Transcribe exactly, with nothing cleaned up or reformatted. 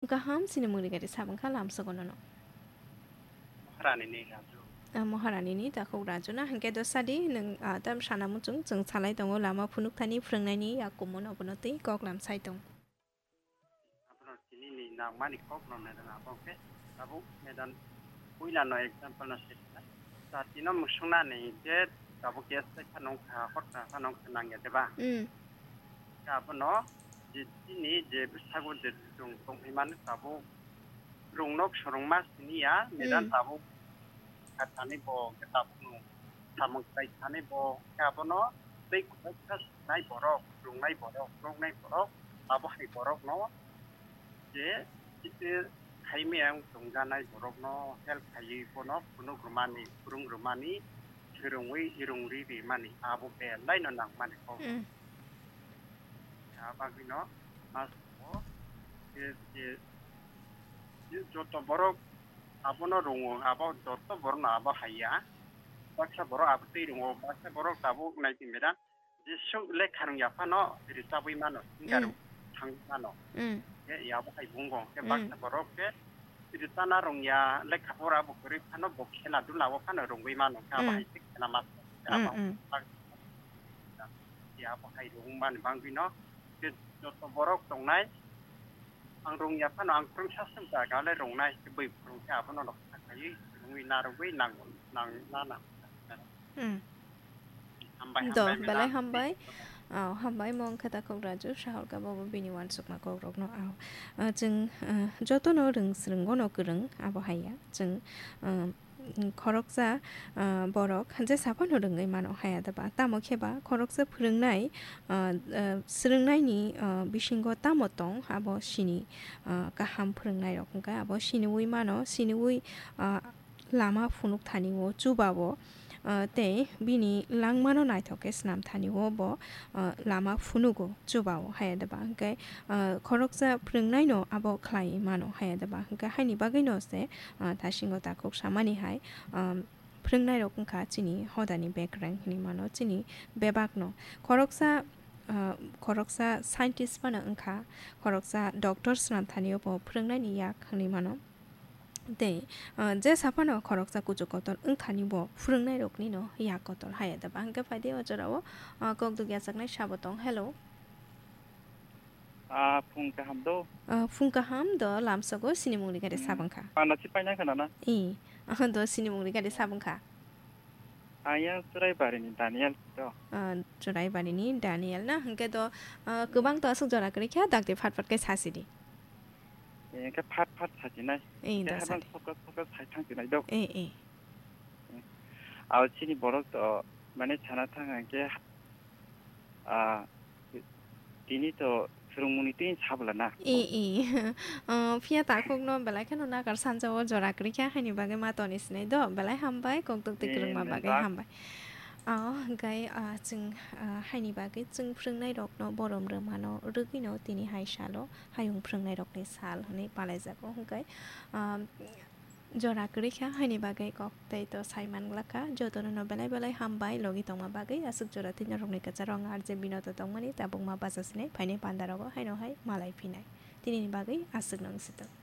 Kaham, chini mungni gari sabang kha lamsogo nono. Maharani ni Raju. Ah, Maharani ni takhuk Raju na, hwnkhe do sadi nwng, ah, tam sana muchung chwng salai tongo lama phunuk thani phwrwngnaini yakumo no bono tei kok lam sai tong. Abono tini ni nangmani kok no medan abo khe tabuk medan puila no example no se. Jatino mwswngnani je tabuk khe sai phano wngkha, hor kha phano wngkha nangya deba? Mm. Khe abono je chini je bwsago je chwng tongwi mano tabuk rungno swrwngma siniya, medan Mm. tabuk kha thani bo, khe tabukno samung khlai thani bo, khe abono tei kwbangkha swrwngnai borok, rwngnai borok, rwngnai borok, abo hai borokno je chini hai miyang tongjanai borokno help khaiwi bono phunuk rwmani, phwrwng rwmani, swrwngwi rwngri rimani, abo belaino nangmani kok. Mm. Abagwino mas o je, je, je joto borok abono rwngo, abo joto borokno abo haiya. Baksa borok abo twi rwngo, baksa borok tabuk nai twi medan. Jesuk lekha rwngya phano rwchabwi mano, singer Mm. thangwi mano. Mm. Khe yabo hai bungo, khe Mm. baksa borok khe rwchana rwngya, lekha pora bo kwrwi phano bo khela dula o phano rwngwi mano, khe abo Mm. hai se khela ma Mm, abo mm. Yabo hai rwng mani bangwino khe joto borok tongnai. Ang rwngya phano ang kwrwngsa swngcha gale rwngnai, khe bwi phwrwng khe abono rok kha khaiwi rwngwi narwgwi nang, nang, na, na. Hmm. Hambai, Do, hambai, belai madam. Hambai. Oh, hambai, mo wngkha takhuk Raju, Saholka bobo bini uansukma kokrokno, oh. Ah, chwng, ah, jotono rwng swrwngo no kwrwng, abo haiya. Chwng, ah, khoroksa, ah, borok jesa phano rwngwi mano haiya deba. Tamo khe ba khoroksa phwrwngnai, ah, ah, swrwngnaini, ah, bisingo tamo tong, abo sini, ah, kaham phwrwngnairok wngkha. Abo siniwi mano, siniwi, ah, lama phunuk thani o chuba o, ah, tei bini langmano naithok khe swnam thani o bo, ah, lama phunugo chuba o haiya deba. Hwnkhe, ah, khoroksa phwrwngnaino abo khlai mano haiya deba. Hwnkhe haini bagwino se, ah, thasingo takhuk samani hai, ah, phwrwngnairok wngkha chini hodani bekreng hinwi mano, chini bebakno. Khoroksa, ah, khoroksa scientist phano wngkha, khoroksa doctor swnam thani o bo phwrwngnaini yak hinwi mano. Tei, ah, jesa phano khoroksa kuchuk kotor wngthani bo phwrwngnairoknino yak kotor haiya deba. Hwnkhe phaidi o jorao, ah, kok dugya chaknai sabo tong. Hello. Ah, phung kaham do? Ah, phung kaham do, lamsogo sini mungni gari Hmm. Sabang kha. Panda si paina khana na? I, ah, do sini mungni gari Sabang kha. Ang yang Churaibarini Daniel do. Ah, Churaibarini Daniel na, hwnkhe do, ah, kwbang to aswk jora kwrwi kha, dakti phat phat khe sasidi. Hwnkhe phat phat sasinai. Ei, Khe da habang sadi. Soka soka sai thangsinai do. Ei, ei. Abo chini borok to mane sana thang hwnkhe, ah, tini to swrwngmungni twi sabla na. Ei, ei. Ah, phiya takhukno belai kheno nakar sanjao jora kwrwi kha haini bagwi ma toni sinai do. Belai hambai, kok duk twi Ei, kwrwngma bagwi nwngjak. Hambai. Ah, hwnkhe, ah, chwng, ah, haini bagwi chwng phwrwngnairokno borom rwmano rwgwino tini hai salo. Hayung phwrwngnairokni sal hwnwi palaijago hwnkhe, um, jora kwrwi kha haini bagwi kok tei to sai manglak kha. Jotono no belai belai hambai logi tongma bagwi. Aswk jora twi norokni kwcharo ang R J Binoto tongmani tabukma bacha sinai phainai pandarogo haino hai malai phinai. Tinini bagwi aswkno wng sitwk.